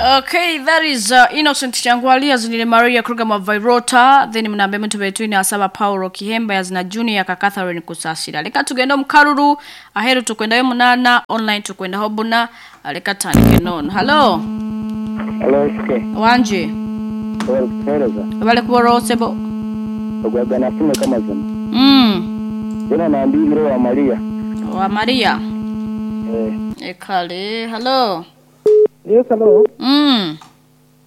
Okay, that is Innocent Changwali azinire Maria Kruger Mavirota, then mnambe mtu between asaba Paulo Kihemba yazina Junior ka Catherine Kusasira. Leka tugende mu karuru aheru tukwendayo munana online tukwendaho buna, leka tandike nono. Hello. Hello, SK. Wanje. Bari kutuhereza. Bale kuborosebo. Ogwagana fume kamazima. Jena nambibire wa Maria. Wa Maria. Eh. Ekale. Hello. Yes, hello.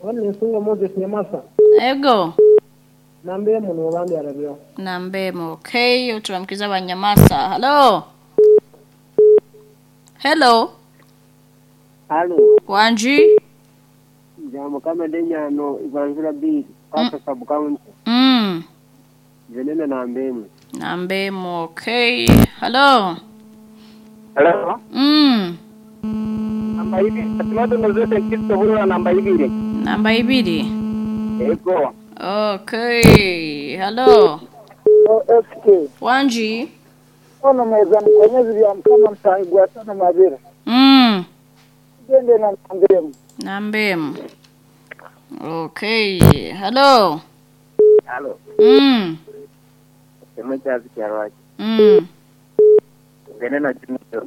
Wani Nsunga Moses Nyamasa. Ego. Nambe muno wabandi arabyo. Nambemo. Okay, uturamkiza Banyamasa. Hello. Hello. Halo, Wanji. jambo kama denyano ibanzura bili pata sub county jenene na mbemu. Nambemo. Okay. Hello. Hello. Namba ibiri. Tomato nozote kisto hurura namba ibiri. Namba ibiri. Ego. Okay. Hello. SK. Wanji. Ono mweza mkonyezi bya mkama msangwa tano mabira. Gende na nambemu. Nambemo. Okay. Hello. Hello. Sema chazi kyarwaki. Gende na Junior.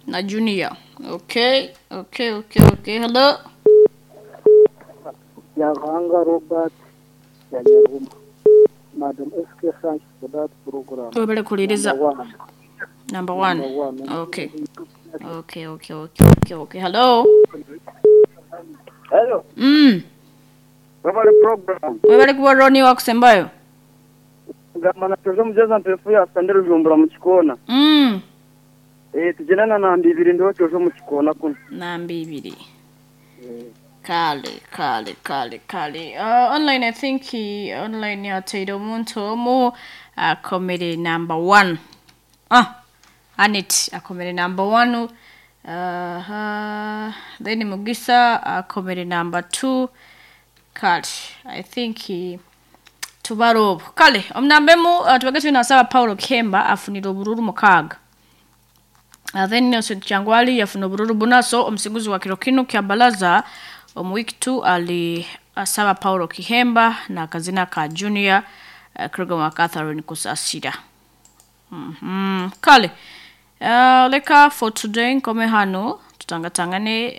Na Junior. Okay. Okay, okay, okay. Hello. Yahanga Robert Yanyaruma. Madam SK, thanks for that program. Webale kuliriza. Number one. Number one. Number one. Okay. Okay, okay, okay, okay, okay. Hello. Hello. Webale program. Webale kuba Roni wakusembayo. Gamba na tozo mjaza mpefu ya sandero jumbura mu kikona. Tujenana na mbibiri ndo tozo mu kikona kuno. Na mbibiri. Kale, kale, kale, kale. Online, I think he, online yateire omuntu omu akomere number one. Anit akomere number one. Then Mugisa akomere number two. Kale, I think he tubaro. Kale, omnambemu tubage tunasaba Paulo Kemba afunira obururu mukaga. Then Innocent Changwali yafuna obururu bunaso omusinguzi wa kiro kino kya balaza omu week 2 ali asaba Paulo Kihemba na kazina ka Junior Krugama Catherine Kusasira. Kale. Leka for today nkome hano tutangatangane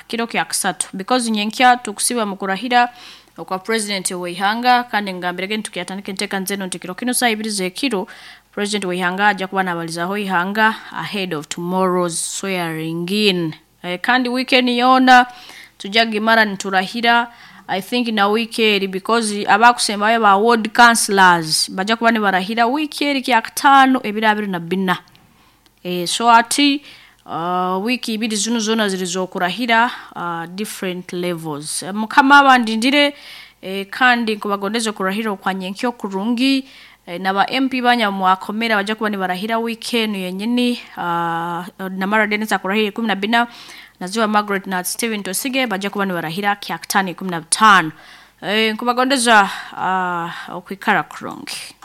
kiro kya kusatu because nyenkya tukusiba mukurahira okwa president weihanga kandi ngambirege ntukiyatandike nteka nzeno nti kiro kino saa ibiri z'ekiro president weihanga ajja kuba nabalizaho ihanga ahead of tomorrow's swearing in. Kandi weekend yona tujja gimara niturahira. I think na weekend because abakusembayo ba ward councillors bajja kuba nibarahira weekend kya katano ebiro abiri na bina. So ati wiki ibiri zino zona zirizokurahira different levels. Mukama abandindire kandi nkubagondeze kurahira okwanye nkyo kurungi naba MP banyamwakomera bajja kuba nibarahira weekend yenyini Namara Dennis akurahira 14 Naziwa Margaret na Steven Tosige bajja kuba nibarahira kya katano 15. Nkubagondeza okwikara kurungi.